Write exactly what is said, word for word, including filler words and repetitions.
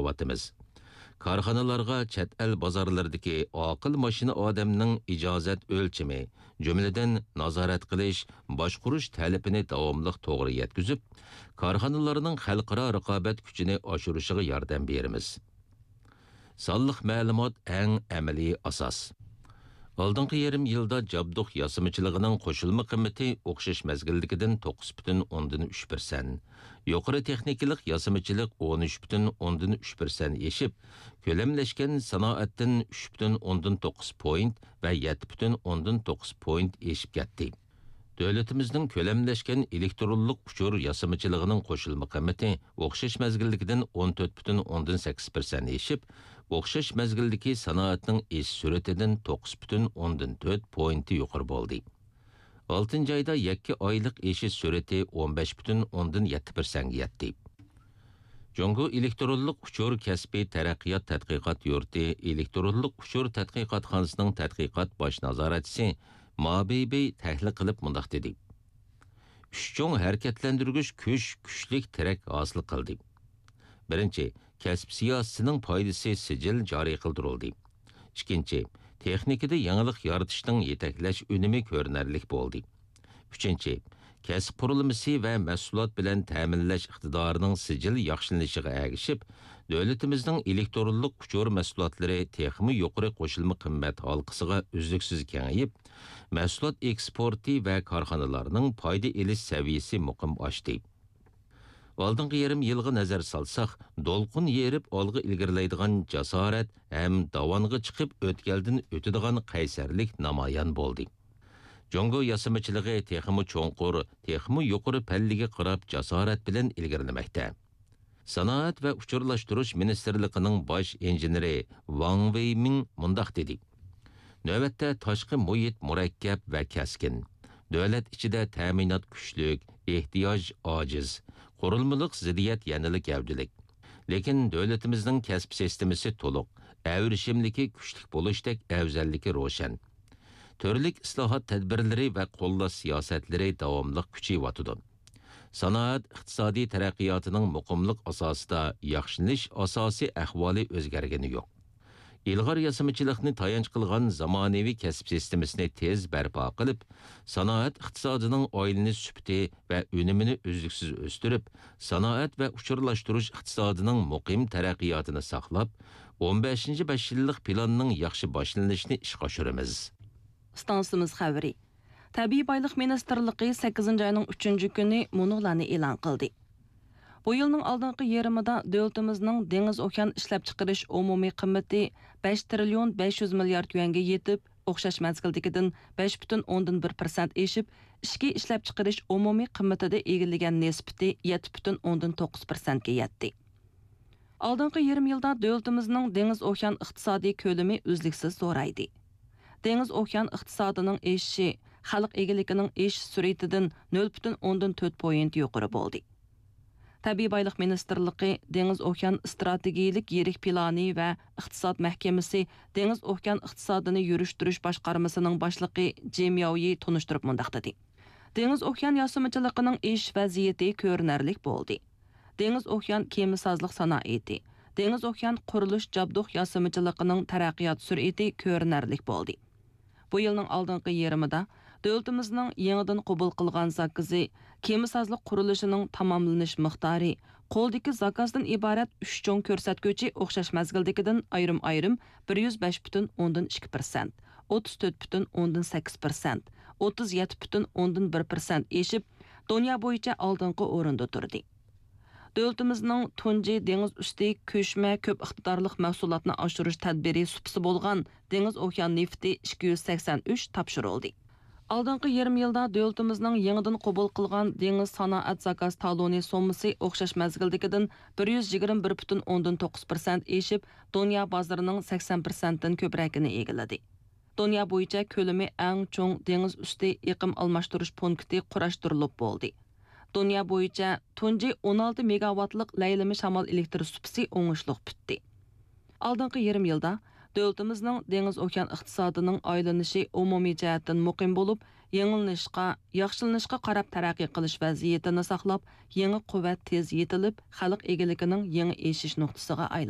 قىلىۋاتىمىز. كارخانىلارغا چەت ئەل بازارلىرىدىكى ئاقىل ماشىنا ئادەمنىڭ ئىجازەت ئۆلچىمى، جۈملىدىن نازارەت قىلىش، باشقۇرۇش تەلىپىنى داۋاملىق توغرا يەتكۈزۈپ، كارخانىلارنىڭ خەلقئارا رىقابەت كۈچىنى ئاشۇرۇشىغا ياردەم بېرىمىز. سانلىق مەلۇمات ئەڭ ئەمەلىي ئاساس. ئالدىنقى يېرىم يىلدا جابدۇق ياسىمىچىلىقىنىڭ قوشۇلما قىممىتى ئوخشاش مەزگىلدىكىدىن توققۇز پۈتۈن ئوندىن ئۈچ پىرسەنت، يۇقىرى تېخنىكىلىق ياسىمىچىلىق ئون ئۈچ پۈتۈن ئوندىن ئۈچ پىرسەنت ئېشىپ، كۆلەملەشكەن سانائەتتىن ئۈچ پۈتۈن ئوندىن توققۇز پوينت ۋە يەتتە پۈتۈن ئوندىن توققۇز پوينت ئېشىپ كەتتى. دۆلىتىمىزنىڭ كۆلەملەشكەن ئېلېكترونلۇق ئۇچۇر ياسىمىچىلىقىنىڭ قوشۇلما قىممىتى ئوخشاش مەزگىلدىكىدىن ئون تۆت پۈتۈن ئوندىن سەككىز پىرسەنت ئېشىپ، ئوخشاش مەزگىلدىكى سانائەتنىڭ ئېشىش سۈرئىتىدىن توققۇز پۈتۈن ئوندىن تۆت پوينتى يۇقىرى بولدى. ئالتىنچى ئايدا يەككە ئايلىق ئېشىش سۈرئىتى ئون بەش پۈتۈن ئوندىن يەتتە پىرسەنتكە يەتتى. جۇڭگو ئېلېكترونلۇق ئۇچۇر كەسپىي تەرەققىيات تەتقىقات يۇرتى ئېلېكترونلۇق ئۇچۇر تەتقىقاتخانىسىنىڭ تەتقىقات باش نازارەتچىسى ما بېيبېي تەھلىل قىلىپ مۇنداق دېدى: ئۈچ چوڭ ھەرىكەتلەندۈرگۈچ كۈچ كۈچلۈك تىرەك ھاسىل قىلدى. بىرىنچى، كەسىپ سىياسىتىنىڭ پايدىسى سىجىل جارى قىلدۇرۇلدى. ئىككىنچى، تېخنىكىدا يېڭىلىق يارىتىشنىڭ يېتەكلەش ئۈنۈمى كۆرۈنەرلىك بولدى. ئۈچىنچى، كەسىپ قۇرۇلمىسى ۋە مەھسۇلات بىلەن تەمىنلەش ئىقتىدارىنىڭ سىجىل ياخشىلىنىشىغا ئەگىشىپ، دۆلىتىمىزنىڭ ئېلېكترونلۇق ئۇچۇر مەھسۇلاتلىرى تېخىمۇ يۇقىرى قوشۇلما قىممەت ھالقىسىغا ئۈزلۈكسىز كېڭىيىپ، مەھسۇلات ئېكسپورتى ۋە كارخانىلارنىڭ پايدا ئېلىش سەۋىيەسى مۇقىم ئاشتى. ئالدىنقى يېرىم يىلغا نەزەر سالساق، دولقۇن يېرىپ ئالغا ئىلگىرىلەيدىغان جاسارەت ھەم داۋانغا چىقىپ ئۆتكەلدىن ئۆتىدىغان قەيسەرلىك نامايان بولدى. جۇڭگو ياسىمىچىلىقى تېخىمۇ چوڭقۇر، تېخىمۇ يۇقىرى پەللىگە قاراپ جاسارەت بىلەن ئىلگىرىلىمەكتە. سانائەت ۋە ئۇچۇرلاشتۇرۇش مىنىستىرلىقىنىڭ باش ئىنژېنېرى ۋاڭ ۋېيمىڭ مۇنداق دېدى: نۆۋەتتە تاشقى مۇھىت مۇرەككەپ ۋە كەسكىن. دۆلەت ئىچىدە تەمىنات كۈچلۈك، ئېھتىياج ئاجىز، قۇرۇلمىلىق زىددىيەت يەنىلا گەۋدىلىك. لېكىن دۆلىتىمىزنىڭ كەسىپ سىستېمىسى تولۇق، ئەۋرىشىملىكى كۈچلۈك بولۇشتەك ئەۋزەللىكى روشەن. تۈرلۈك ئىسلاھات تەدبىرلىرى ۋە قوللاش سىياسەتلىرى داۋاملىق كۈچىيىۋاتىدۇ. سانائەت ئىقتىسادىي تەرەققىياتىنىڭ مۇقىملىق ئاساسىدا ياخشىلىنىش ئاساسىي ئەھۋالى ئۆزگەرگىنى يوق. ئىلغار ياسىمىچىلىقنى تايانچ قىلغان زامانىۋى كەسىپ سىستېمىسىنى تېز بەرپا قىلىپ، سانائەت ئىقتىسادىنىڭ ئايلىنىش سۈپىتى ۋە ئۈنۈمىنى ئۈزلۈكسىز ئۆستۈرۈپ، سانائەت ۋە ئۇچۇرلاشتۇرۇش ئىقتىسادىنىڭ مۇقىم تەرەققىياتىنى ساقلاپ، ئون بەشىنچى بەش يىللىق پىلاننىڭ ياخشى باشلىنىشىنى ئىشقا ئاشۇرىمىز. ئىستانسىمىز خەۋىرى. تەبىئىي بايلىق مىنىستىرلىقى سەككىزىنچى ئاينىڭ ئۈچىنچى كۈنى مۇنۇلارنى ئېلان قىلدى. بۇ يىلنىڭ ئالدىنقى يېرىمىدا دۆلىتىمىزنىڭ دېڭىز ئوكيان ئىشلەپچىقىرىش ئومۇمىي قىممىتى بەش تىرىليون بەش يۈز مىليارد يۈەنگە يېتىپ، ئوخشاش مەزگىلدىكىدىن بەش پۈتۈن ئوندىن بىر پىرسەنت ئېشىپ، ئىچكى ئىشلەپچىقىرىش ئومۇمىي قىممىتىدە ئىگىلىگەن نىسبىتى يەتتە پۈتۈن ئوندىن توققۇز پىرسەنتكە يەتتى. ئالدىنقى يېرىم يىلدا دۆلىتىمىزنىڭ دېڭىز ئوكيان ئىقتىسادىي كۆلىمى ئۈزلۈكسىز زورايدى. دېڭىز ئوكيان ئىقتىسادىنىڭ ئېشىشى خەلق ئىگىلىكىنىڭ ئېشىش سۈرئىتىدىن نۆل پۈتۈن ئوندىن تۆت پوينت يۇقىرى بولدى. تەبىئىي بايلىق مىنىستىرلىقى دېڭىز ئوكيان ئىستراتېگىيىلىك يىرىك پىلانى ۋە ئىقتىساد مەھكىمىسى دېڭىز ئوكيان ئىقتىسادىنى يۈرۈشتۈرۈش باشقارمىسىنىڭ باشلىقى جىم ياۋيى تونۇشتۇرۇپ مۇنداق دېدى: دېڭىز ئوكيان ياسىمىچىلىقىنىڭ ئېشىش ۋەزىيىتى كۆرۈنەرلىك بولدى. دېڭىز ئوكيان كېمىسازلىق سانائىتى، دېڭىز ئوكيان قۇرۇلۇش جابدۇق ياسىمىچىلىقىنىڭ تەرەققىيات سۈرئىتى كۆرۈنەرلىك بولدى. بۇ يىلنىڭ ئالدىنقى يېرىمىدا دۆلىتىمىزنىڭ يېڭىدىن قوبۇل قىلغان زاكىزى، كېمىسازلىق قۇرۇلۇشىنىڭ تاماملىنىش مىقدارى، قولدىكى زاكازدىن ئىبارەت ئۈچ چوڭ كۆرسەتكۈچى ئوخشاش مەزگىلدىكىدىن ئايرىم-ئايرىم بىر يۈز بەش پۈتۈن ئوندىن ئىككى پىرسەنت، ئوتتۇز تۆت پۈتۈن ئوندىن سەككىز پىرسەنت، ئوتتۇز يەتتە پۈتۈن ئوندىن بىر پىرسەنت ئېشىپ، دۇنيا بويىچە ئالدىنقى ئورۇندا تۇردى. دۆلىتىمىزنىڭ تۇنجى دېڭىز ئۈستى كۆچمە كۆپ ئىقتىدارلىق مەھسۇلاتنى ئاشۇرۇش تەدبىرى سۇپىسى بولغان دېڭىز ئوكيان نېفىتى ئىككى يۈز سەكسەن ئۈچ تاپشۇرۇلدى. ئالدىنقى يېرىم يىلدا دۆلىتىمىزنىڭ يېڭىدىن قوبۇل قىلغان دېڭىز سانائەت زاكاز تالونى سوممىسى ئوخشاش مەزگىلدىكىدىن بىر يۈز يىگىرمە بىر پۈتۈن ئوندىن توققۇز پىرسەنت ئېشىپ، دۇنيا بازىرىنىڭ سەكسەن پىرسەنتتىن كۆپرەكىنى ئىگىلىدى. دۇنيا بويىچە كۆلىمى ئەڭ چوڭ دېڭىز ئۈستى ئېقىم ئالماشتۇرۇش پونكىتى قۇراشتۇرۇلۇپ بولدى. دۇنيا بويىچە تۇنجى ئون ئالتە مېگاۋاتلىق لەيلىمە شامال ئېلېكتر سۇپىسى ئوڭۇشلۇق پۈتتى. ئالدىنقى يېرىم يىلدا دۆلىتىمىزنىڭ دېڭىز ئوكيان ئىقتىسادىنىڭ ئايلىنىشى ئومۇمىي جەھەتتىن مۇقىم بولۇپ، يېڭىلىنىشقا، ياخشىلىنىشقا قاراپ تەرەققىي قىلىش ۋەزىيىتىنى ساقلاپ، يېڭى قۇۋۋەت تېز يېتىلىپ، خەلق ئىگىلىكىنىڭ يېڭى ئېشىش نۇقتىسىغا ئايلاندى.